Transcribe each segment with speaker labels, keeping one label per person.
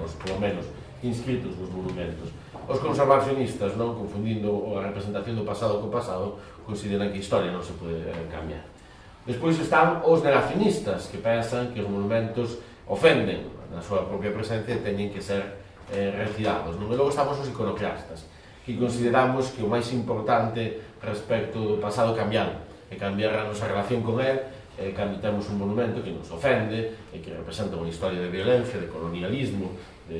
Speaker 1: os polo menos inscritos nos monumentos. Os conservacionistas, non, confundindo a representación do pasado co pasado, consideran que a historia non se pode cambiar. Despois están os negacionistas, que pensan que os monumentos ofenden na súa propia presencia e teñen que ser retirados. E logo estamos os iconoclastas, que consideramos que o máis importante respecto do pasado cambiar, e cambiar a nosa relación con él, cando temos un monumento que nos ofende e que representa unha historia de violencia, de colonialismo, de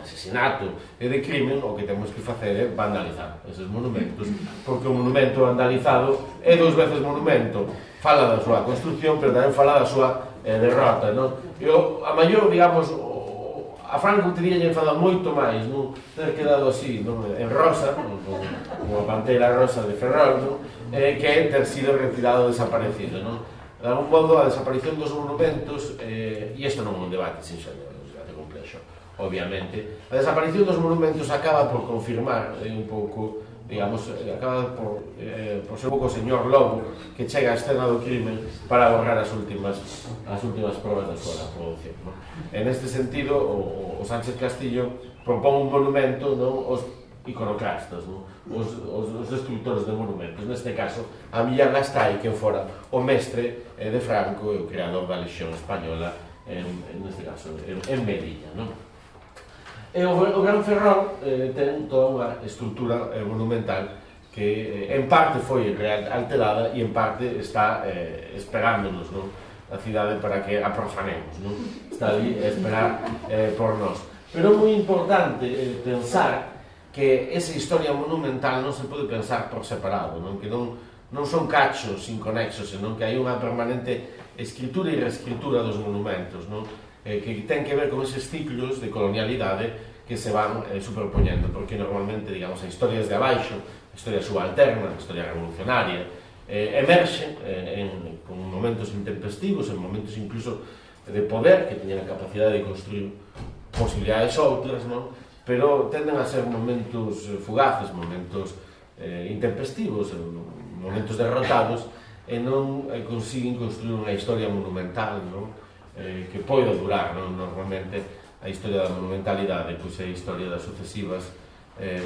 Speaker 1: asesinato e de crimen, o que temos que facer é vandalizar eses monumentos, porque o monumento vandalizado é dous veces monumento, fala da súa construcción, pero tamén fala da súa derrota, non? E a maior, digamos, a Franco teria enfadado moito máis, non? Ter quedado así, non? En rosa, como a pantera rosa de Ferrol, non? Que ter sido retirado, desaparecido, non? De algún modo, a desaparición dos monumentos, e isto non é un debate sinxelo, é un debate complexo, obviamente, a desaparición dos monumentos acaba por confirmar un pouco, digamos, acaba por ser un pouco o señor Lobo que chega á escena do crimen para borrar as últimas probas da súa produción, non? En este sentido, o Sánchez Castillo propón un monumento, non, aos iconoclastas, non? Os destructores de monumentos, neste caso a Millán Astray, que fora o mestre de Franco e o creador da Lexión Española, neste caso en Melilla, non? E o Gran Ferrol ten toda unha estrutura monumental que en parte foi alterada e en parte está esperándonos, non? A cidade para que a profanemos, non? Está ali a esperar por nós. Pero é moi importante pensar que esa historia monumental non se pode pensar por separado, non? Que non son cachos inconexos, senón que hai unha permanente escritura e reescritura dos monumentos, non? Que ten que ver con eses ciclos de colonialidade que se van superpoñendo, porque normalmente, digamos, a historias de abaixo, a historia subalterna, a historia revolucionaria, emerxen con momentos intempestivos, en momentos incluso de poder, que teñen a capacidade de construir posibilidades outras, non? Pero tenden a ser momentos fugaces, momentos intempestivos, momentos derrotados, e non consiguen construir unha historia monumental, non? Que poida durar, non? Normalmente a historia da monumentalidade é a historia das sucesivas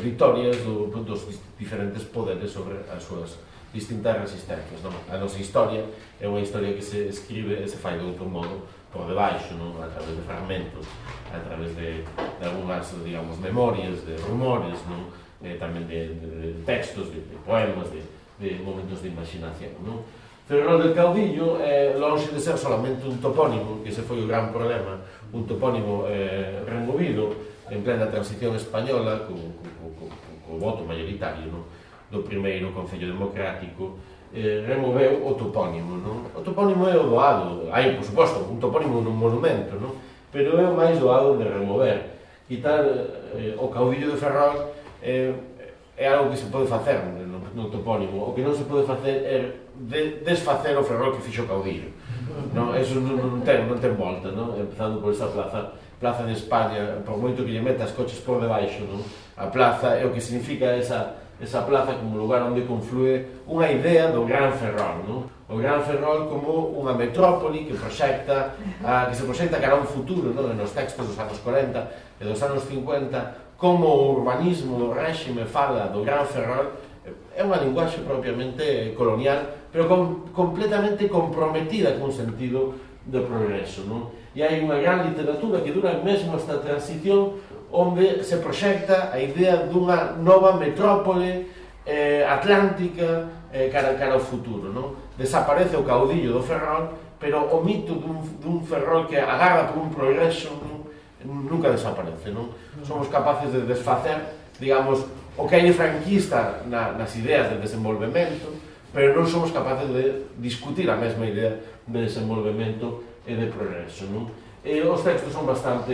Speaker 1: vitorias dos diferentes poderes sobre as súas distintas resistencias, non? A nosa historia é unha historia que se escribe e se fai de outro modo por debaixo, non? A través de fragmentos, a través de algunhas, digamos, memorias, de rumores, non? Tamén de textos, de poemas, de momentos de imaginación, non? Ferrol del Caudillo é longe de ser solamente un topónimo, que ese foi o gran problema, un topónimo removido en plena transición española co voto mayoritario, non? Do primeiro Concello Democrático, removeu o topónimo, non? O topónimo é o doado, hai, por suposto, un topónimo nun monumento, non? Pero é o máis doado de remover. Quitar o caudillo de Ferrol é algo que se pode facer no topónimo. O que non se pode facer é desfacer o Ferrol que fixo o caudillo. Eso non ten volta, non? Empezando por esa plaza de España, por moito que lle metas coches por debaixo, non? A plaza é o que significa esa plaza como lugar onde conflúe unha idea do Gran Ferrol, non? O Gran Ferrol como unha metrópoli que se proxecta cara a un futuro, non? Nos textos dos anos 40 e dos anos 50, como o urbanismo do réxime fala do Gran Ferrol, é unha linguaxe propiamente colonial, pero completamente comprometida con un sentido de progreso, non? E hai unha gran literatura que dura mesmo esta transición onde se proxecta a idea dunha nova metrópole atlántica cara ao futuro, non? Desaparece o caudillo do Ferrol, pero o mito dun Ferrol que agarra por un progreso nunca desaparece, non? Somos capaces de desfacer, digamos, o que hai de franquista nas ideas de desenvolvemento, pero non somos capaces de discutir a mesma idea de desenvolvemento e de progreso, non? E os textos son bastante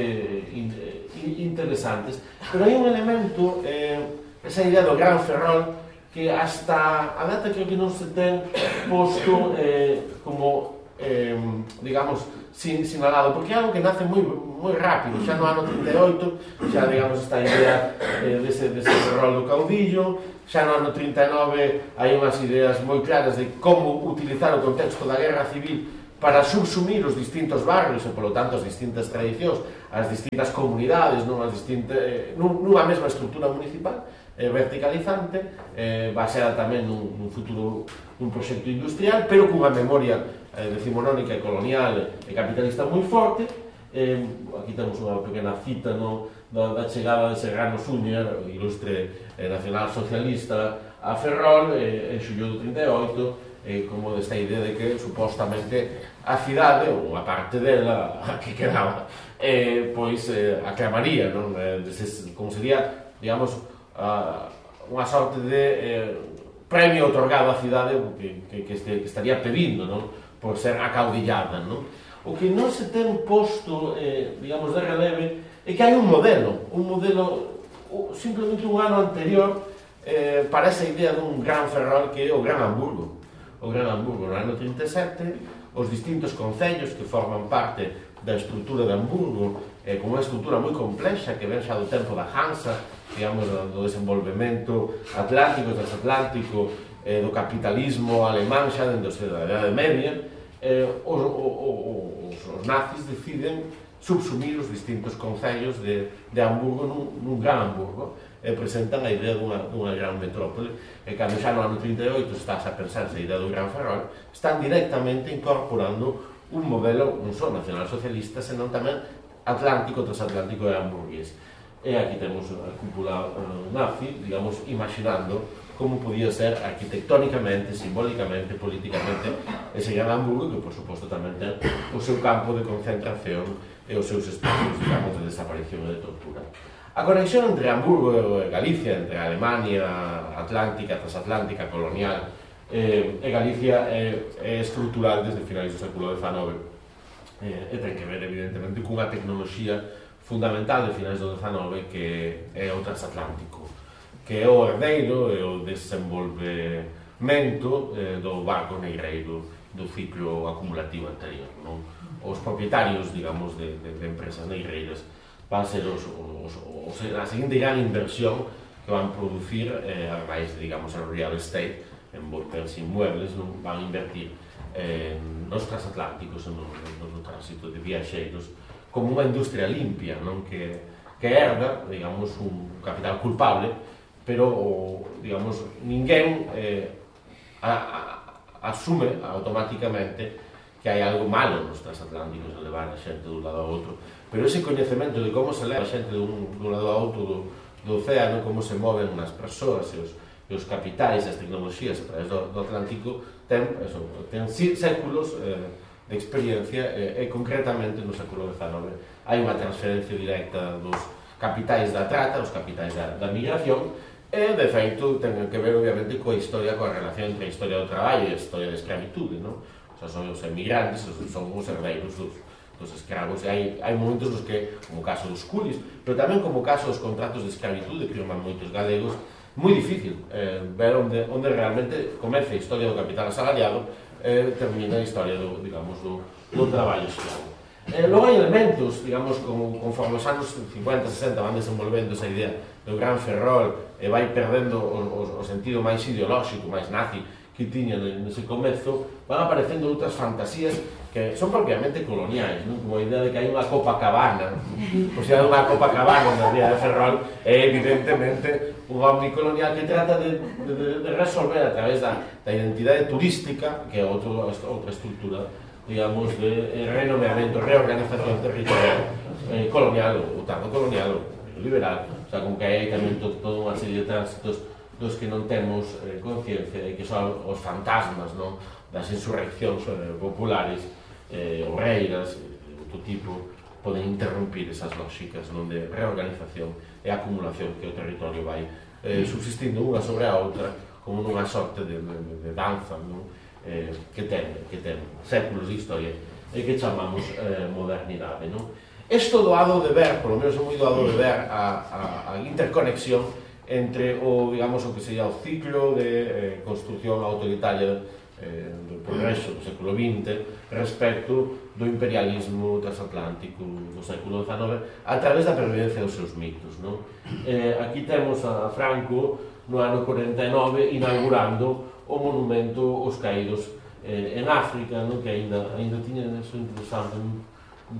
Speaker 1: interesantes, pero hai un elemento, esa idea do Gran Ferrol, que hasta a data creo que non se ten posto como, digamos, sinalado, porque é algo que nace moi rápido, xa no ano 38, xa, digamos, esta idea dese Ferrol do caudillo, xa no ano 39 hai unhas ideas moi claras de como utilizar o contexto da guerra civil para subsumir os distintos barrios e, polo tanto, as distintas tradicións as distintas comunidades nunha mesma estrutura municipal verticalizante, baseada tamén nun futuro un proxecto industrial, pero cunha memoria decimonónica e colonial e capitalista moi forte. Aquí temos unha pequena cita da chegada de Serrano Súñer, o ilustre nacional socialista, a Ferrol en xullo do 38, como desta idea de que supostamente a cidade, ou a parte dela que quedaba, pois aclamaría, non? Como sería, digamos, unha sorte de premio otorgado á cidade que estaría pedindo, non? Por ser acaudillada, non? O que non se ten posto, digamos, de releve é que hai un modelo simplemente un ano anterior para esa idea dun gran Ferrol que é o Gran Hamburgo. O Gran Hamburgo, no ano 37, os distintos concellos que forman parte da estrutura de Hamburgo, con unha estrutura moi complexa que ven xa do tempo da Hansa, digamos, do desenvolvemento atlántico e transatlántico, do capitalismo alemán xa dentro da Idade Media, os nazis deciden subsumir os distintos concellos de Hamburgo nun Gran Hamburgo e presentan a idea dunha gran metrópole, e cando xa no ano 38 estás a pensar esa idea do Gran Ferrol, están directamente incorporando un modelo non só nacionalsocialista, senón tamén atlántico, transatlántico e hamburgués. E aquí temos a cúpula nazi, digamos, imaginando como podía ser arquitectónicamente, simbólicamente, políticamente ese Gran Hamburgo, que por suposto tamén ten o seu campo de concentración e os seus espacios, digamos, de desaparición e de tortura. A conexión entre Hamburgo e Galicia, entre a Alemania atlántica, transatlántica, colonial e Galicia é estrutural desde finais do século XIX e ten que ver evidentemente cunha tecnoloxía fundamental de finais do XIX que é o transatlántico, que é o herdeiro e o desenvolvemento do barco negreiro do ciclo acumulativo anterior, non? Os propietarios, digamos, de empresas negreiras van ser a seguinte gran inversión que van producir, a máis, digamos, a real estate, en bens inmuebles, non? Van invertir nos transatlánticos, no tránsito de viaxeiros, como unha industria limpia, non? Que herda, digamos, un capital culpable, pero, digamos, ninguén asume automáticamente que hai algo malo nos transatlánticos de levar a xente dun lado ao outro, pero ese coñecemento de como se leva a xente dun lado ao outro do océano, como se moven as persoas e os capitais e as tecnoloxías a través do Atlántico, ten séculos de experiencia e concretamente no século XIX hai unha transferencia directa dos capitais da trata, os capitais da migración, e de feito ten que ver obviamente coa historia, coa relación entre a historia do traballo e a historia da escravitude, non? Son os emigrantes, son os herdeiros dos escravos, e hai momentos nos que, como o caso dos culis, pero tamén como o caso dos contratos de escravitude que firman moitos galegos, moi difícil ver onde realmente comeza a historia do capital asalariado e termina a historia do traballo escravo. Logo hai elementos, digamos, conforme os anos 50, 60 van desenvolvendo esa idea do Gran Ferrol e vai perdendo o sentido máis ideolóxico, máis nazi que tiña nese comezo, van aparecendo outras fantasías que son propiamente coloniais, non? Como a idea de que hai unha Copacabana, o sea, unha Copacabana na ría de Ferrol é evidentemente un omnicolonial que trata de resolver a través da identidade turística, que é outra estrutura, digamos, de renomeamento, reorganización territorial colonial, ou tardo colonial, ou liberal, o sea, con que hai tamén toda unha serie de tránsitos dos que non temos conciencia e que son os fantasmas, non? Das insurreccións populares, obreiras, de outro tipo, poden interrumpir esas lógicas, non? De reorganización e acumulación que o territorio vai subsistindo unha sobre a outra como nunha sorte de danza, non? Que ten séculos de historia e que chamamos modernidade, non? Isto doado de ver, polo menos é moi doado de ver a interconexión entre digamos, o que sería o ciclo de construción autoritaria do progreso do século XX respecto do imperialismo transatlántico do século XIX a través da pervivencia dos seus mitos, non? Aquí temos a Franco no ano 49 inaugurando o monumento aos caídos en África, non? Que ainda tiña eso interesante,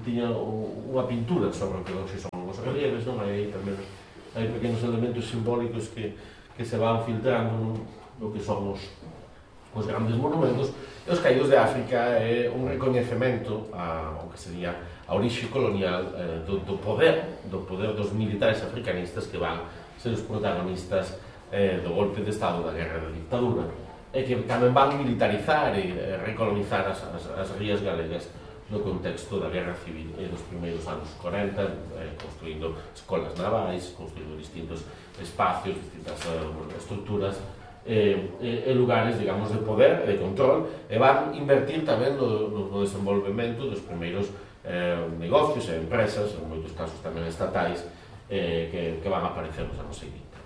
Speaker 1: tiña unha pintura sobre o que hoxe son os relieves, non? Hai tamén hai pequenos elementos simbólicos que se van filtrando no que son os grandes monumentos. E os caídos de África é un recoñecemento ao que sería a orixe colonial do poder dos militares africanistas que van ser os protagonistas do golpe de Estado, da guerra da dictadura, e que tamén van militarizar e recolonizar as rías galegas no contexto da guerra civil e dos primeiros anos 40, construindo escolas navais, construindo distintos espacios, distintas estruturas e lugares, digamos, de poder e de control, e van invertir tamén no desenvolvemento dos primeiros negocios e empresas, en moitos casos tamén estatais, que van a aparecer nos anos seguintes.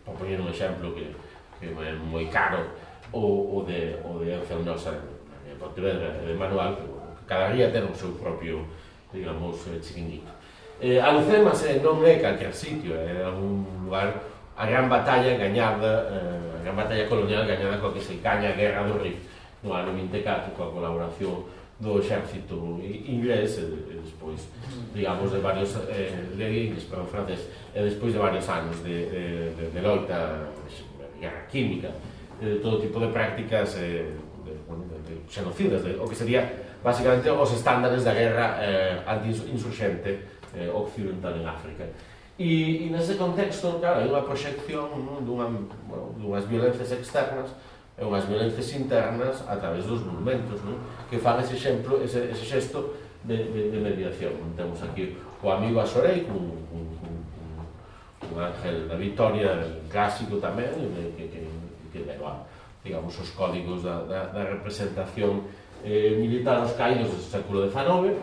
Speaker 1: Por poñer un exemplo que é moi caro, o de Encelnosa en Pontevedra e de Manuel, que cada ría ten o seu propio, digamos, chiringuito. Alhucemas non é calquer sitio, é un lugar, a gran batalla gañada, a gran batalla colonial gañada coa que se gaña a Guerra do Rif no ano 24, coa colaboración do exército inglés e despois, digamos, de varios francés, e despois de varios anos de loita, de guerra química, de todo tipo de prácticas de xenocidas, o que sería basicamente os estándares da guerra anti-insurxente occidental en África. E nese contexto, claro, hai unha proxección dunhas violencias externas e unhas violencias internas a través dos monumentos, que fan ese exemplo, ese xesto de mediación. Temos aquí o amigo Asorei, un ángel da Victoria clásico tamén, que leva, digamos, os códigos da representación militar aos caídos do século XIX,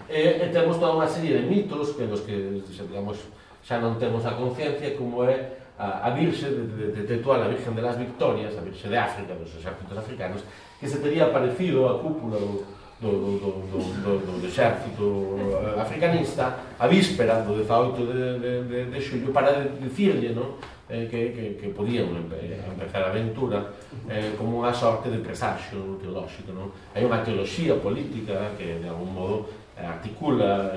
Speaker 1: e temos toda unha serie de mitos que nos que, digamos, xa non temos a conciencia, como é a Virxe de Tetuán, a Virgen de las Victorias, a Virxe de África, dos exércitos africanos, que se tería aparecido a cúpula do exército africanista a víspera do 18 de xullo para dicirlle que podían empezar a aventura como unha sorte de presagio teolóxico. Hai unha teoloxía política que de algún modo articula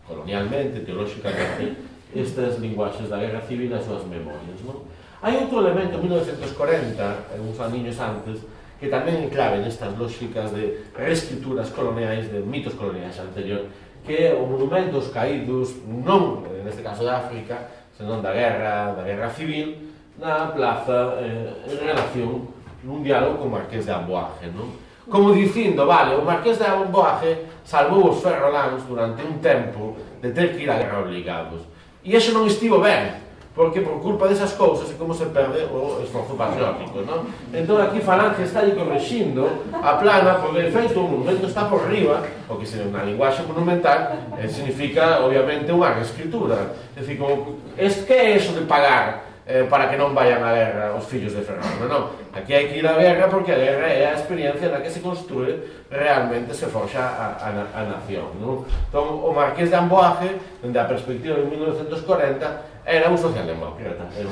Speaker 1: colonialmente, teolóxicamente, estas linguaxes da guerra civil nas súas memorias. Hai outro elemento, en 1940, uns aniños antes, que tamén é clave nestas lógicas de reescrituras coloniais, de mitos coloniais anterior, que é o monumento aos caídos, non, neste caso de África, senón da guerra civil, na plaza en relación nun diálogo con o Marqués de Amboaje, como dicindo, vale, o Marqués de Amboaje salvou os ferroláns durante un tempo de ter que ir á guerra obligados. E iso non estivo ben, porque por culpa desas cousas é como se perde o esforzo patriótico, Entón aquí Falange está aí correxindo a plana, porque de feito o monumento está por riba, o que se na linguaxe monumental significa, obviamente, unha reescritura. É dicir, que é eso de pagar para que non vayan á guerra os fillos de Fernando? Non, aquí hai que ir á guerra porque a guerra é a experiencia na que se construe realmente, se forxa a nación. Entón, o Marqués de Amboaje, dende a perspectiva de 1940, era un socialdemócrata. O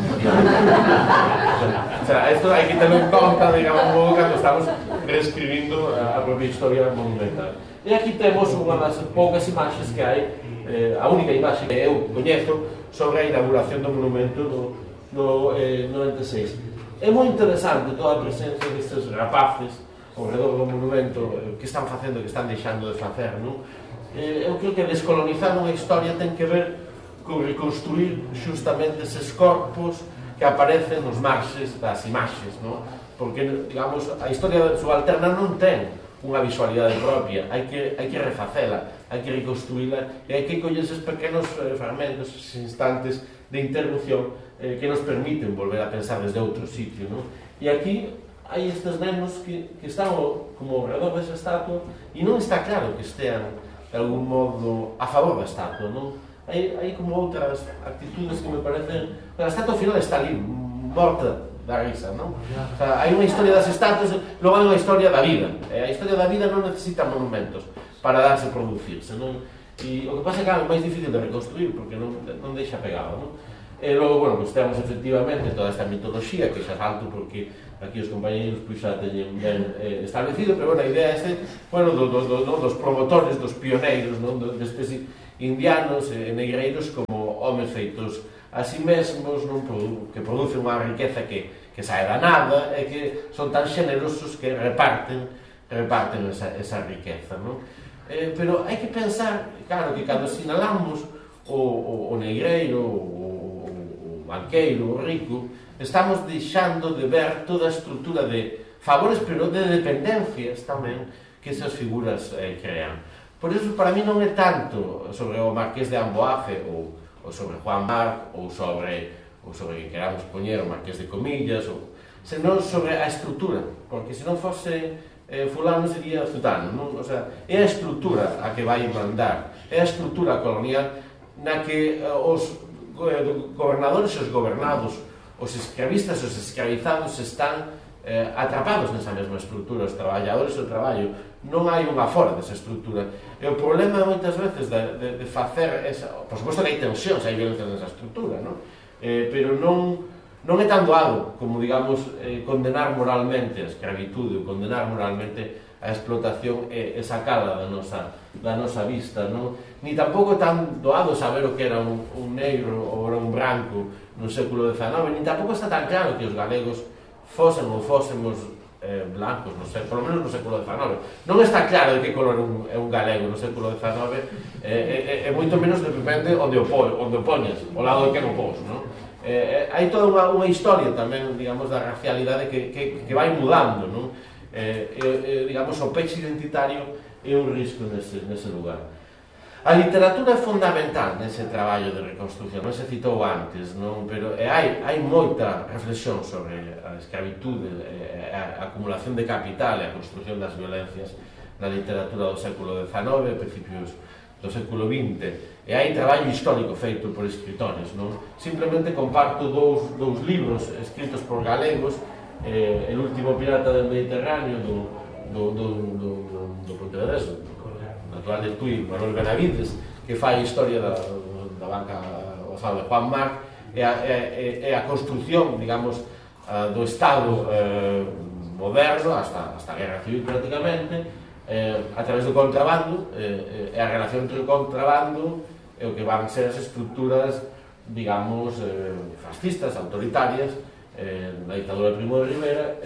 Speaker 1: sea, isto hai que ter en conta, digamos, cando estamos reescribindo a propia historia monumental. E aquí temos unha das poucas imaxes que hai, a única imaxe que eu coñezo sobre a inauguración do monumento no 96. É moi interesante toda a presencia destes rapaces ao redor do monumento, que están facendo, que están deixando de facer, eu creo que descolonizar unha historia ten que ver con reconstruir xustamente eses corpos que aparecen nos marxes das imaxes, porque, digamos, a historia subalterna non ten unha visualidade propia, hai que refacela, hai que reconstruíla e hai que coller eses pequenos fragmentos, eses instantes de interrupción que nos permiten volver a pensar desde outro sitio. E aquí hai estes nenos que están como ao redor desa estatua e non está claro que estean de algún modo a favor da estatua. Hai como outras actitudes que me parecen... A estatua final está ali, morta da risa, O sea, hai unha historia das estatuas, logo hai unha historia da vida. A historia da vida non necesita monumentos para darse producirse, E o que pasa é que é máis difícil de reconstruir porque non deixa pegado, E logo, bueno, pues temos efectivamente toda esta mitoloxía que xa salto porque aquí os compañeros pois xa teñen ben establecido, pero bueno, a idea é bueno, dos promotores, dos pioneiros, destes indianos e negreiros como homes feitos a si mesmos, que producen unha riqueza que sae da nada e que son tan xenerosos que reparten esa riqueza, non? Pero hai que pensar, claro, que cando sinalamos o negreiro, o banqueiro, o rico, estamos deixando de ver toda a estrutura de favores, pero de dependencias tamén que esas figuras crean. Por iso, para mí non é tanto sobre o Marqués de Amboaje ou sobre Juan Marc ou sobre que queramos poñer o Marqués de Comillas, senón sobre a estrutura, porque se non fose fulano sería zutano, non? O sea, é a estrutura a que vai mandar, é a estrutura colonial na que os gobernadores e os gobernados, os escravistas e os escravizados están atrapados nesa mesma estrutura, os traballadores e o traballo, non hai unha fora desa estrutura. E o problema moitas veces de facer esa... Por suposto que hai tensións, hai violencia nesa estrutura, non? Pero non é tan doado como, digamos, condenar moralmente a escravitude ou condenar moralmente a explotación e sacala da nosa vista, non? Ni tampouco é tan doado saber o que era un negro ou era un branco no século XIX, ni tampouco está tan claro que os galegos fosen ou fósemos blancos, non sei, polo menos no século XIX. Non está claro de que color é un galego no século XIX, e moito menos depende onde o poñas, ao lado de que non pos, non? Hai toda unha historia tamén, digamos, da racialidade que vai mudando, non? Digamos, o peche identitario é un risco nese lugar. A literatura é fundamental nese traballo de reconstrucción, non se citou antes, non? Pero hai moita reflexión sobre a escravitude, a acumulación de capital e a construcción das violencias na literatura do século XIX e principios do século XX, e hai traballo histórico feito por escritores, non? Simplemente comparto dous libros escritos por galegos, El último pirata del Mediterráneo do Pontevedrés, natural de Tui, Manuel Benavides, que fai a historia da banca de Juan Marc e a construcción, digamos, do Estado moderno hasta a Guerra Civil prácticamente, a través do contrabando, e a relación entre o contrabando e o que van ser as estruturas, digamos, fascistas, autoritarias, na dictadura de Primo de Rivera.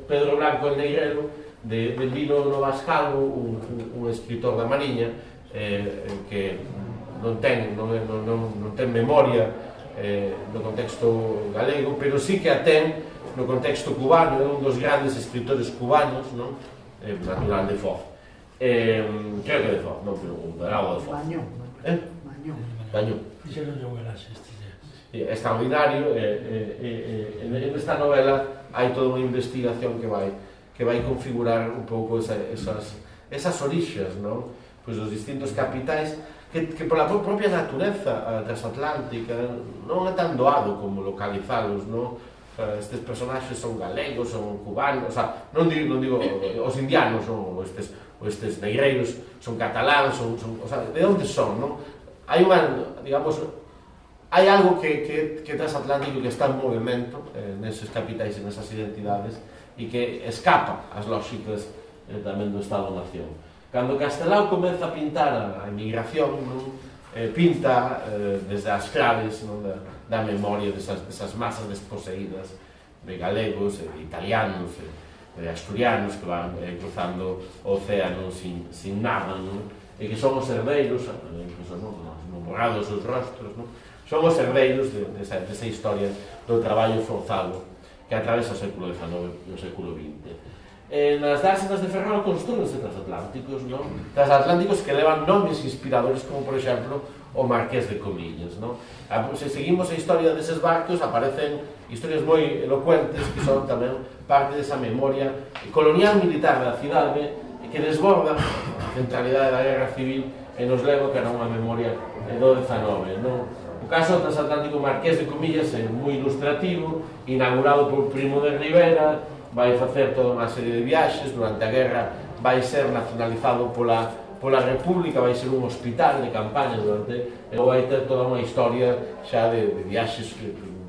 Speaker 1: Pedro Blanco el Negrero, de Lino Novascalvo, un escritor da Mariña, que non ten memoria no contexto galego, pero sí que a ten no contexto cubano, é un dos grandes escritores cubanos, non? Natural de Foz. Creo que de Foz, non, pero de Lago de Foz. Bañón.
Speaker 2: Fixeron novelas estes días.
Speaker 1: É extraordinario, en esta novela hai toda unha investigación que vai configurar un pouco esas orixas, non? Pois os distintos capitais que pola propia natureza transatlántica non é tan doado como localizalos, non? Estes personaxes son galegos, son cubanos, non digo os indianos ou estes negreiros son cataláns, de onde son, non? Hai unha, digamos, hai algo que transatlántico que está en movimento neses capitais e nesas identidades e que escapa ás lóxicas tamén do Estado-Nación. Cando Castelao comeza a pintar a emigración, pinta desde as claves da memoria desas masas desposeídas de galegos, italianos, de asturianos que van cruzando o océano sin nada, e que son os herdeiros, incluso non borrados os rostros, son os herdeiros desa historia do traballo forzado que atravesa o século XIX e o século XX. Nas dársenas de Ferrol construense transatlánticos, transatlánticos que levan nomes inspiradores como, por exemplo, o Marqués de Comillas. Se seguimos a historia deses barcos, aparecen historias moi elocuentes que son tamén parte desa memoria colonial militar da cidade que desborda a centralidade da Guerra Civil e nos leva que era unha memoria do XIX. O caso do transatlántico Marqués de Comillas é moi ilustrativo, inaugurado por Primo de Rivera, vai facer toda unha serie de viaxes, durante a guerra vai ser nacionalizado pola pola República, vai ser un hospital de campaña durante, e vai ter toda unha historia xa de viaxes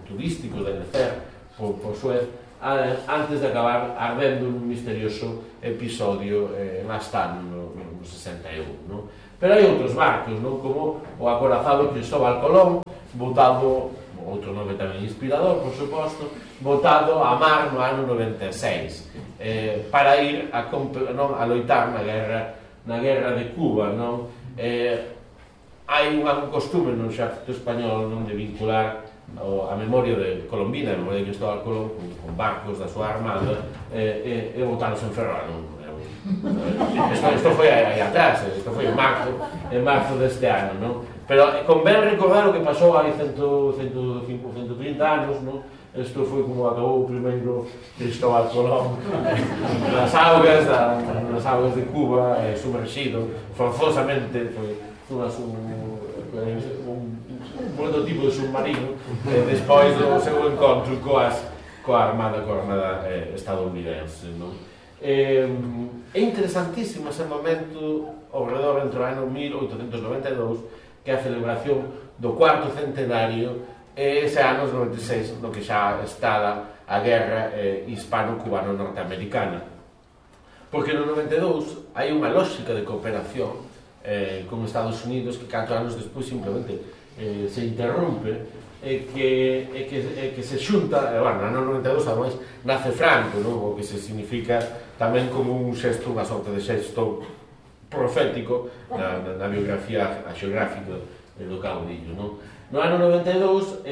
Speaker 1: turísticos de lecer por Suez, antes de acabar ardendo un misterioso episodio en Astán no 61, non? Pero hai outros barcos, non? Como o acorazado Cristóbal Colón, botado, outro nome tamén inspirador, por suposto, botado a mar no ano 96, para ir a loitar na guerra de Cuba, non? Hai un costume no exército español, non, de vincular a memoria de Colombina, a memoria de Cristóbal Colón, con barcos da súa armada, e botanos en Ferrol, non? Isto foi aí atrás, isto foi en marzo deste ano, non? Pero convén recordar o que pasou hai 130 anos, non? Isto foi como acabou o primeiro Cristóbal Colón nas augas de Cuba, sumerxido forzosamente, foi un prototipo de submarino despois do seu encontro coa armada estadounidense, non? É interesantísimo ese momento ao redor entre o ano 1892, que é a celebración do cuarto centenario, e ese ano 96, no que xa está a guerra hispano-cubano-norteamericana, porque no 92 hai unha lógica de cooperación con Estados Unidos que 4 anos despois simplemente se interrompe e que se xunta, bueno, no ano 92 ademais nace Franco, non? O que se significa tamén como un xesto, unha sorte de xesto profético na biografía xeográfica do caudillo, non? No ano 92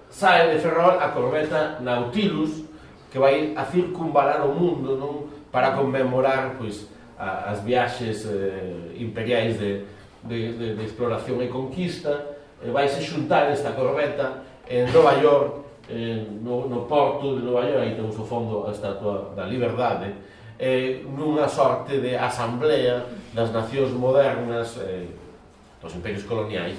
Speaker 1: sae de Ferrol a corbeta Nautilus, que vai a circunvalar o mundo, non? Para conmemorar, pois, as viaxes imperiais de exploración e conquista. Vaise xuntar esta corbeta en Nova York, no porto de Nova York, aí temos ao fondo a Estatua da Liberdade, nunha sorte de asamblea das nacións modernas dos imperios coloniais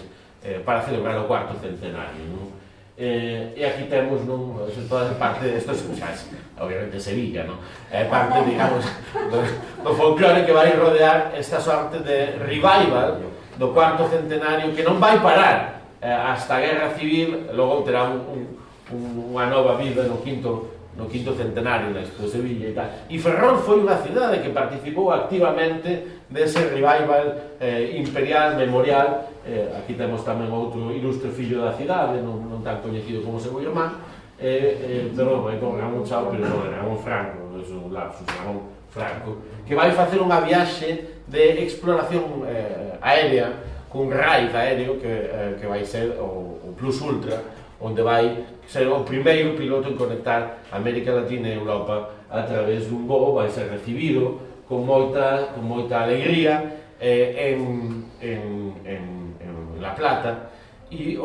Speaker 1: para celebrar o cuarto centenario, non? E aquí temos, non, toda parte isto xa obviamente Sevilla, non? É parte, digamos, do folclore que vai rodear esta sorte de revival do cuarto centenario, que non vai parar hasta a Guerra Civil, logo terá unha nova vida no quinto centenario na Expo de Sevilla e tal. E Ferrol foi unha cidade que participou activamente dese revival imperial, memorial. Aquí temos tamén outro ilustre fillo da cidade, non tan coñecido como seu irmán, pero con Ramón Chao, pero non, Ramón Franco, é un lapsus, Ramón Franco, que vai facer unha viaxe de exploración aérea cun raid aéreo que vai ser o Plus Ultra, onde vai ser o primeiro piloto en conectar América Latina e Europa a través dun voo. Vai ser recibido con moita alegría en La Plata, e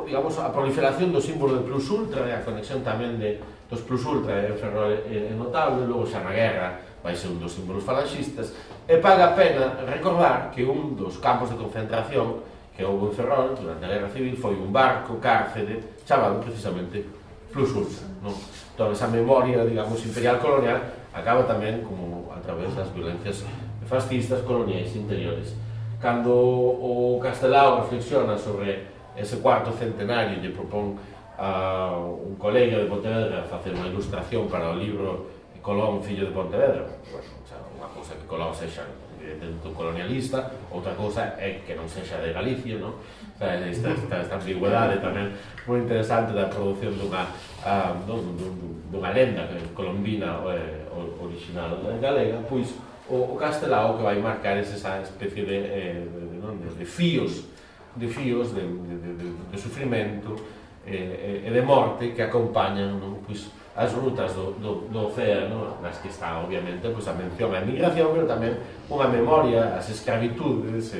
Speaker 1: digamos, a proliferación do símbolo de Plus Ultra e a conexión tamén dos Plus Ultra en Ferrol é notable. Logo xa na guerra vai ser un dos símbolos falanxistas, e paga a pena recordar que un dos campos de concentración que houve en Ferrol durante a Guerra Civil foi un barco cárcere chamado precisamente Plus Ultra, non? Toda esa memoria, digamos, imperial colonial acaba tamén como a través das violencias fascistas coloniais interiores. Cando o Castelao reflexiona sobre ese cuarto centenario, lle propón a un colega de Pontevedra facer unha ilustración para o libro Colón, fillo de Pontevedra. Bueno, unha cousa que Colón sexa evidentemente colonialista, outra cousa é que non sexa de Galicia, non? Esta ambigüedade tamén moi interesante da produción dunha lenda colombina original galega. Pois o Castelao que vai marcar esa especie de fíos de sufrimento e de morte que acompañan, non? Pois as rutas do océano, nas que está, obviamente, a mención á emigración, pero tamén unha memoria ás escravitudes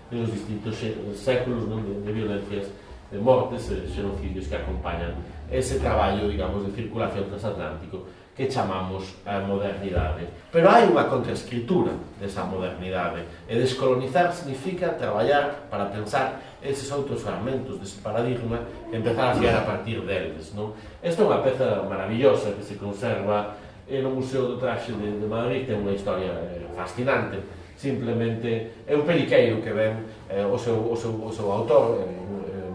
Speaker 1: nos distintos séculos de violencias, de mortes e xenocidios que acompañan ese traballo, digamos, de circulación transatlántico que chamamos a modernidade. Pero hai unha contraescritura desa modernidade, e descolonizar significa traballar para pensar eses outros fragmentos dese paradigma e empezar a fiar a partir deles, non? Esta é unha peza maravillosa que se conserva no Museo do Traxe de Madrid, ten unha historia fascinante. simplemente é un peliqueiro que ven o seu autor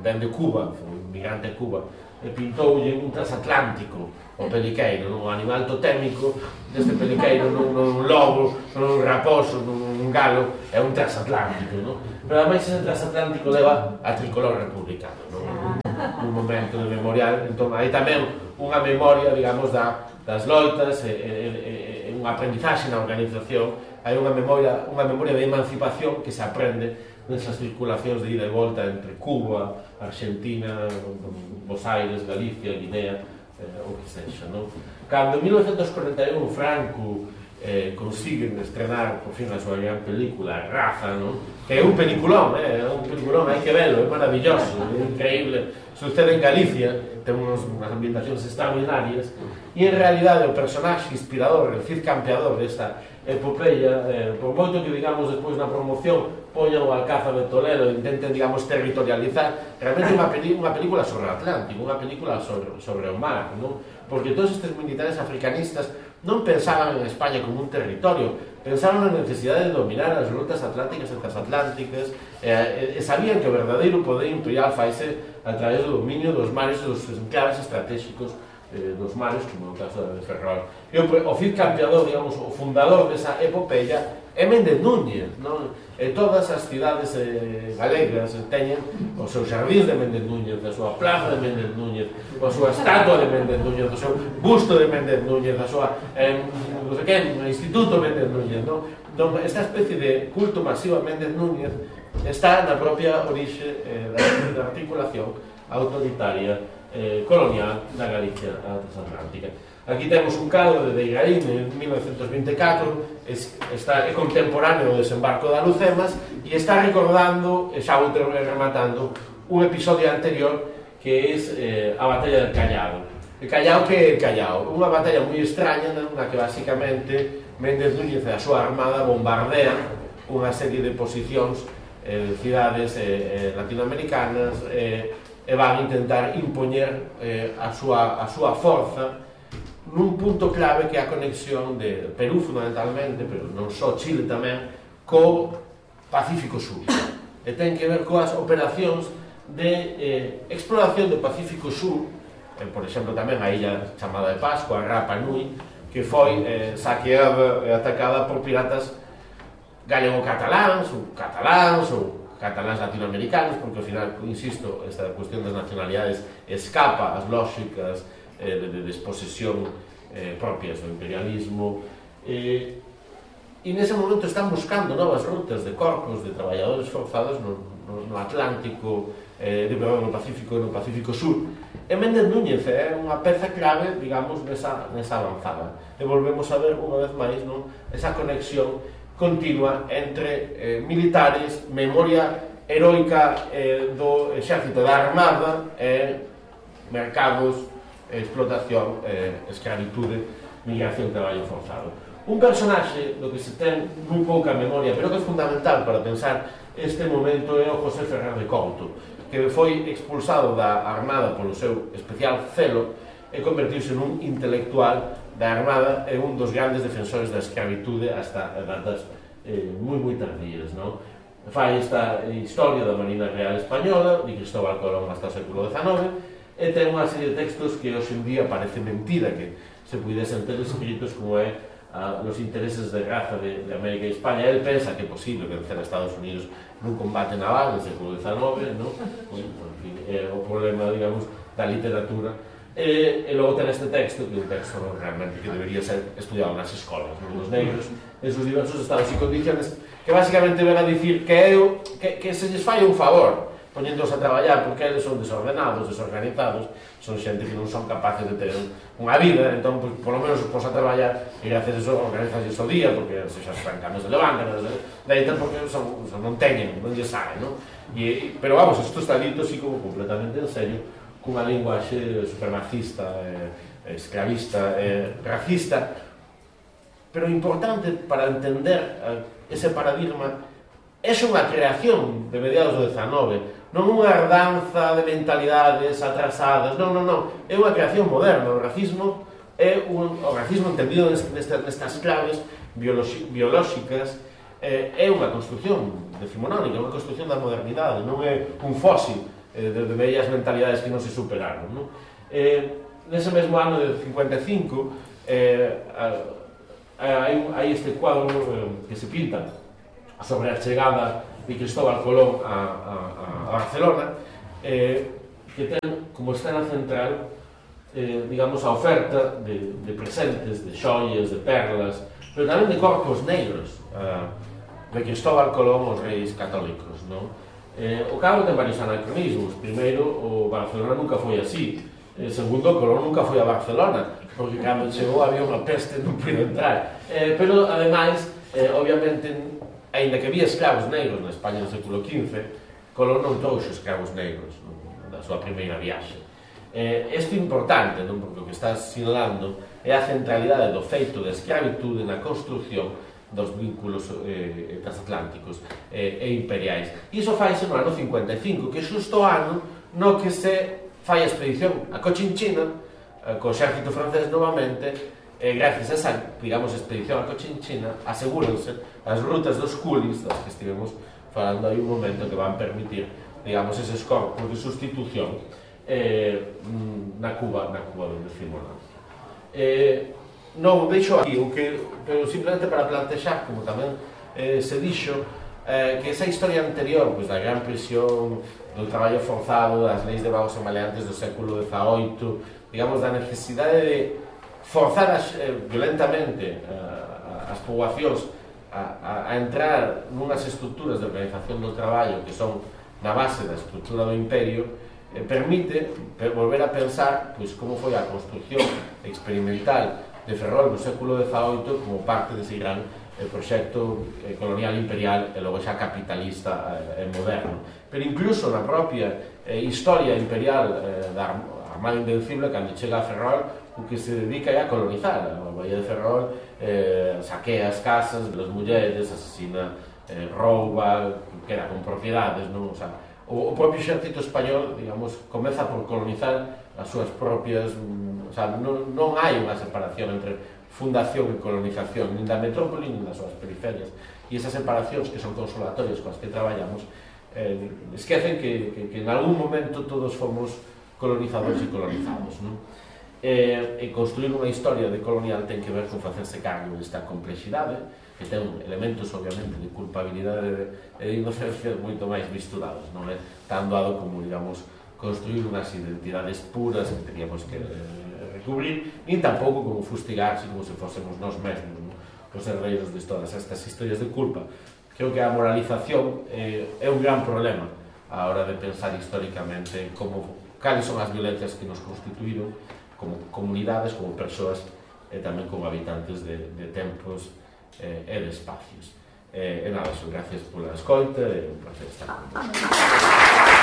Speaker 1: ven de Cuba, foi un migrante de Cuba, e pintoulle un transatlántico o peliqueiro, un animal totémico deste peliqueiro, non un lobo, non un raposo, non un galo, é un transatlántico, non? Pero ademais ese transatlántico leva a tricolor republicano, non? Un momento de memorial, entón hai tamén unha memoria, digamos, das loitas e un aprendizaxe na organización, hai unha memoria de emancipación que se aprende nesas circulacións de ida e volta entre Cuba, Argentina, Buenos Aires, Galicia, Guinea, o que sexa, non? Cando en 1941 Franco consiguen estrenar por fin a súa gran película Raza, non? Que é un peliculón, hai que velo, é maravilloso, é increíble, sucede en Galicia, ten unhas ambientacións extraordinarias e en realidade o personaxe inspirador, el Cid Campeador desta epopeia, por moito que digamos despois na promoción poñan o Alcázar de Toledo e intenten, digamos, territorializar, realmente unha película sobre o Atlántico, unha película sobre o mar, non? Porque todos estes militares africanistas non pensaban en España como un territorio, pensaban na necesidade de dominar as rutas atlánticas e transatlánticas e sabían que o verdadeiro poder imperial faise a través do dominio dos mares e dos enclaves estratégicos dos mares, como no caso de Ferrol. E o Cid Campeador, digamos, o fundador desa epopeia é Méndez Núñez, non? E todas as cidades galegas teñen os seus xardíns de Méndez Núñez, a súa plaza de Méndez Núñez, a súa estatua de Méndez Núñez, o seu busto de Méndez Núñez, a súa instituto Méndez Núñez, non? Entón, esta especie de culto masivo a Méndez Núñez está na propia orixe da articulación autoritaria colonial da Galicia transatlántica. Aquí temos un cadro de Deigaín en 1924, é contemporáneo do desembarco de Alucemas e está recordando, e xa vou rematando, un episodio anterior que é a batalla del Callao. El Callao, que é el Callao? Unha batalla moi extraña na que basicamente Méndez Núñez e a súa armada bombardean unha serie de posicións de cidades latinoamericanas e van a intentar impoñer a súa forza nun punto clave que é a conexión de Perú fundamentalmente, pero non só Chile tamén, co Pacífico Sur. E ten que ver coas operacións de exploración do Pacífico Sur, por exemplo tamén a illa chamada de Pascua, Rapa Nui, que foi saqueada e atacada por piratas galego-cataláns ou cataláns latinoamericanos, porque ao final, insisto, esta cuestión das nacionalidades escapa ás lógicas de desposesión propias do imperialismo e nese momento están buscando novas rutas de corpos de traballadores forzados no Atlántico, no Pacífico e no Pacífico Sur, e Méndez Núñez é unha peza clave, digamos, nesa avanzada, e volvemos a ver unha vez máis, non, esa conexión continua entre militares, memoria heroica do exército, da armada e mercados, explotación, escravitude, migración, traballo forzado. Un personaxe do que se ten moi pouca memoria, pero que é fundamental para pensar este momento é o José Ferrer de Couto, que foi expulsado da armada polo seu especial celo e convertiuse nun intelectual da armada e un dos grandes defensores da escravitude hasta datas moi tardías, non? Fai esta historia da Marina Real Española de Cristóbal Colón hasta o século XIX e ten unha serie de textos que hoxe en día parece mentira que se pudesen ter escritos, como é los intereses de raza de América e España. Él pensa que é posible vencer a Estados Unidos nun combate naval no século XIX, non? O problema, digamos, da literatura. E logo ten este texto, que é un texto realmente que debería ser estudiado nas escolas, nos negros, en sus diversos estados e condiciones, que basicamente ven a dicir que se lles fai un favor poñéndose a traballar, porque eles son desordenados, desorganizados, son xente que non son capaces de ter unha vida, entón, pues, por lo menos os pos a traballar e gracias a eso organizanse o día, porque se xa francanos se levantan, deitan porque non teñen, non lle saben, non? Pero vamos, isto está dito así como completamente en serio, cunha linguaxe supremacista, esclavista, racista, pero importante para entender ese paradigma é unha creación de mediados do XIX, non unha herdanza de mentalidades atrasadas, non, é unha creación moderna. O racismo é o racismo entendido nestas claves biolóxicas é unha construcción decimonónica, é unha construcción da modernidade, non é un fósil de vellas mentalidades que non se superaron, non? Nese mesmo ano de 55 hai este cuadro que se pinta sobre a chegada de Cristóbal Colón a Barcelona, que ten como escena central, digamos, a oferta de presentes, de xoias, de perlas, pero tamén de corpos negros de Cristóbal Colón aos reis católicos, non? O cabo ten varios anacronismos. Primeiro, o Barcelona nunca foi así. Segundo, Colón nunca foi a Barcelona, porque cando chegou había unha peste, non puido entrar. Pero, ademais, obviamente, aínda que había escravos negros na España do século XV, Colón non trouxo escravos negros na súa primeira viaxe. Isto é importante, non? Porque o que está sinalando é a centralidade do feito de escravitude na construción dos vínculos transatlánticos e imperiais. E iso faise no ano 55, que é xusto o ano no que se fai a expedición a Cochinchina, co exército francés novamente, e gracias a esa, digamos, expedición a Cochinchina, asegúrense as rutas dos coolies, das que estivemos falando aí un momento, que van permitir, digamos, eses corpos de sustitución na Cuba do decimonante. Non deixo aquí, pero simplemente para plantexar, como tamén se dixo, que esa historia anterior, pois, da gran prisión, do traballo forzado, das leis de vagos e maleantes do século XVIII, digamos, da necesidade de forzar violentamente as poboacións a entrar nunhas estruturas de organización do traballo que son na base da estrutura do imperio, permite volver a pensar pois como foi a construcción experimental de Ferrol no século XVIII como parte dese gran proxecto colonial imperial e logo xa capitalista e moderno. Pero incluso na propia historia imperial da Armada Invencible, cando chega a Ferrol, o que se dedica é a colonizar. A Bahía de Ferrol saquea as casas das mulleres, asesina, rouba, queda con propiedades, non? O sea, o propio exército español, digamos, comeza por colonizar as súas propias, o sea, non hai unha separación entre fundación e colonización, nin da metrópoli, nin das súas periferias. E esas separacións que son consolatorias coas que traballamos esquecen que en algún momento todos fomos colonizadores e colonizados, non? E construir unha historia de colonial ten que ver con facerse cargo desta complexidade, que ten elementos, obviamente, de culpabilidade e de inocencia moito máis misturados, non é tan doado como, digamos, construir unhas identidades puras que teníamos que recubrir, nin tampouco como fustigarse como se fósemos nós mesmos, non? Os herdeiros de todas estas historias de culpa. Creo que a moralización é un gran problema a hora de pensar históricamente cales son as violencias que nos constituíron como comunidades, como persoas e tamén como habitantes de tempos e de espacios. E nada, gracias pola escoita e un placer estar con vos.